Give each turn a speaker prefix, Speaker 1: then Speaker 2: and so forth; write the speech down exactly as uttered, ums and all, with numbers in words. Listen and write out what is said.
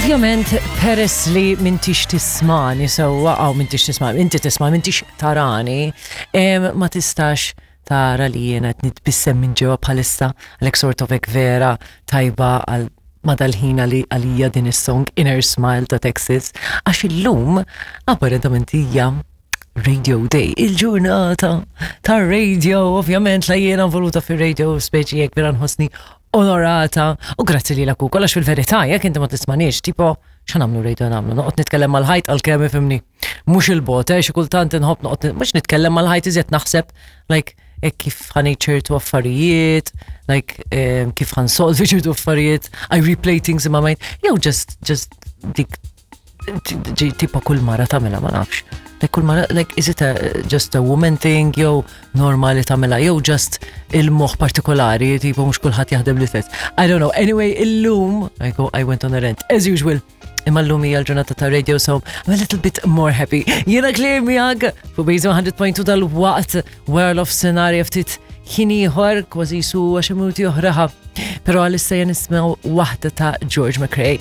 Speaker 1: Ovvjament, peress li m'intix tismagħni sewwa, aw m'intix tisma', inti tisma', m'intix tarani, em, ma tistax tara li jiena qed nitbissem minn ġewwa bħalissa, għalhekk sort of hekk vera tajba għal madal-ħin li għalija din is-song Inner Smile ta' Texas, għax illum apparentement hija Radio Day, il-ġurnata ta' radio, ovvjament la jiena involuta fir-radio, speċi jekk vera nħossni onorata, u grazzi li l-aku, għax fil-verità, jekk inti ma tismanix, tipo, xa nagħmlu radio nagħmlu, noqgħod nitkellem mal-ħajt għal-kemm ifhimni. Mhux il-bot, eh, xi kultant inħobb noqgħod, mhux nitkellem mal-ħajt, iżjed naħseb, like, hekk kif ħa ngħid ċertu affarijiet, like, um, kif ħa nsolvi ċertu affarijiet, I replay things in my mind, jew just, just dik ġi tipo kull mara tagħmilha, ma nafx. Like kull mara, like is it a, just a woman thing, jew normali tagħmilha, jew just il-moħ partikolari, tipo mhux kulħadd jaħdem l-istess. I don't know. Anyway, illum, I go, I went on a rant, as usual. Imma llum hija l-ġurnata ta' radio, so I'm a little bit more happy. Jiena Claire miegħek fuq Base one hundred point two, dal-waqt World of Scenario ftit ħin ieħor, kważi su għaxar minuti oħra. Però għalissa jen nismaw waħda ta' George McRae.